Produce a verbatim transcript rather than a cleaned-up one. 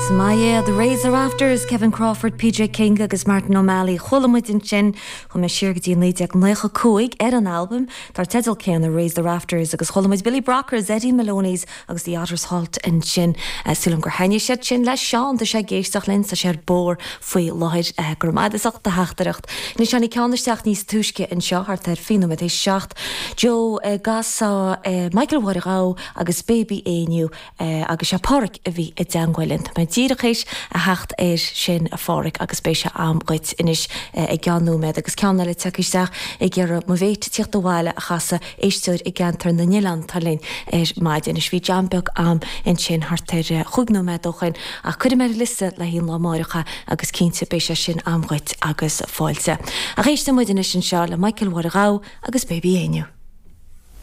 Is maith é The Raise the Rafters, Kevin Crawford, PJ King agus Martin O'Malley chuala muid ansin chuaigh mé siar go dtí naoi déag nócha cúig ar an albam dar teideal céanna Raise the Rafters agus chuala muid Billy Brockers, Eddie Maloney's agus the Otters Halt ansin sílim gur thaitnigh siad sin le Seán tá sé ag éisteacht linn sa sé bór faoi láthair go raibh maith agat as ucht do theachtaireacht. Anois tháinig ceann isteach níos túisce anseo thart ar fiche nóiméad théis seacht. Joe gasa Michael Mháire Ghabh agus Baby Éinniú agus sé Pádraic a bhí i dteagmháil linn. Tá mé díreach théis a theacht air sin a Phádraic agus beidh sé a'm dhuit anois i gceann nóiméad agus ceann eile tagtha isteach ag iarraidh mo mhéit tíocht abhaile a chasadh éisteoir i gceantar na nOileán atá linn ar maidin. Anois bhí jam beag a'm ansin thart ar chúig nóiméad ó shin ach cuirfidh mé ar liosta le haghaidh an lá amárach agus cinnte beidh sé sin a'm dhuit agus fáilte. Ach éisteann muid anois anseo le Michael Mháire Ghabh agus Baby Éinniú.